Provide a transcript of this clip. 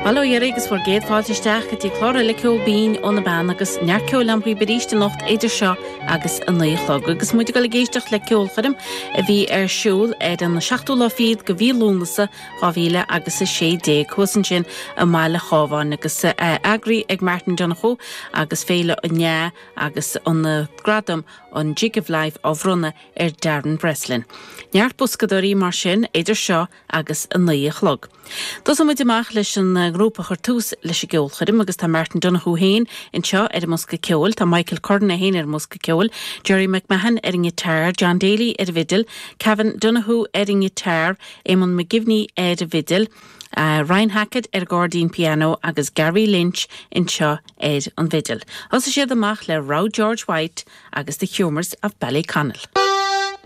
Bail ó Dhia oraibh agus bhur gcéad fáilte isteach go dtí clár eile Ceol Binn ó na Beanna agus neart ceoil agam dhaoibh arís anocht idir seo agus a 9 a chlog. Agus muid ag dul ag éisteacht le ceolchoirm a bhí ar siúl ar an seachtú lá fichead de mhí Lúnasa 2000 agus 16 thuas ansin i mBaile Chábháin agus eagraithe ag Martin Donohoe agus Féile an Fheá agus an gradam an Jig of Life á bhronnadh ar Darren Breslin. Neart boscadóirí mar sin idir seo agus a 9 a chlog. Tosóidh muid amach leis an ngrúpa a chuir tús leis an gceolchoirm agus tá Martin Donohoe féin anseo ar an mbosca ceoil, tá Michael Curran é féin ar an mbosca ceoil, Gerry McMahon ar an ngiotár, John Daly ar an bhfidil, Kevin Donohoe ar an ngiotár, Eamon McGivney ar an bhfidil, Ryan Hackett ar an gcairdín pianó agus Gary Lynch anseo ar an bhfidil. Thosaigh siad amach le Row George White agus The Humours of Ballyconnell.